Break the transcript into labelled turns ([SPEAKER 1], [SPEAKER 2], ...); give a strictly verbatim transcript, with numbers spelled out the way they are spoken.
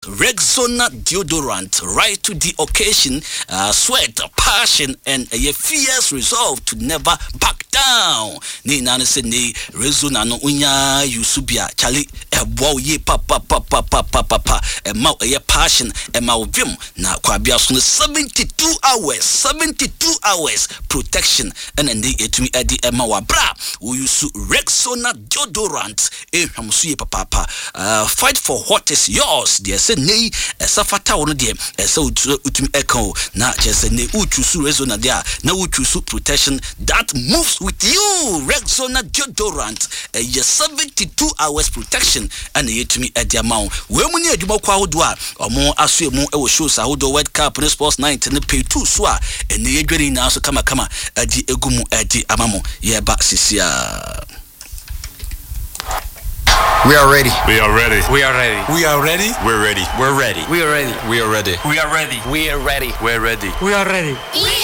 [SPEAKER 1] Rexona deodorant, right to the occasion, uh, sweat, passion and ɛyɛ fierce resolve to never back down. Ne nyinaa no sɛ ne Rexona no wonya use bi a, kyale, ɛboa wo yie papapapapapapa. Ɛma wo ɛyɛ passion, ɛma wo vim na kwabea so no seventy-two hours, seventy-two hours protection ɛna ne yɛtumi ɛde ɛma wo abra wo use Rexona deodorant. Ɛhwam so yie papaapa. uh, fight for what is yours. Deɛ sɛ ne yi ɛsɛ fata wo no deɛ, ɛsɛ wotumi ɛka o na kyerɛ sɛ ne wotwu so Rexona deɛ a, na wotwu so protection that moves with you. Rexona deodorant ɛyɛ seventy-two hours protection ɛna yɛtumi ɛde ama wo. Wei mu ne adwuma kɔ ahodoɔ a ɔmo aso mu ɛwɔ shows ahodoɔ, World Cup ne Sports Night ne pay two so a ɛne yɛdwa ne nyinaa so kamakama ɛde egu mu ɛde ama mo. Yɛba sisi a.
[SPEAKER 2] We are ready.
[SPEAKER 3] We are ready.
[SPEAKER 4] We are ready.
[SPEAKER 5] We are ready.
[SPEAKER 3] We're ready.
[SPEAKER 4] We're ready.
[SPEAKER 6] We are ready.
[SPEAKER 3] We are ready.
[SPEAKER 4] We are ready.
[SPEAKER 6] We are ready.
[SPEAKER 4] We're ready.
[SPEAKER 7] We are ready.
[SPEAKER 8] We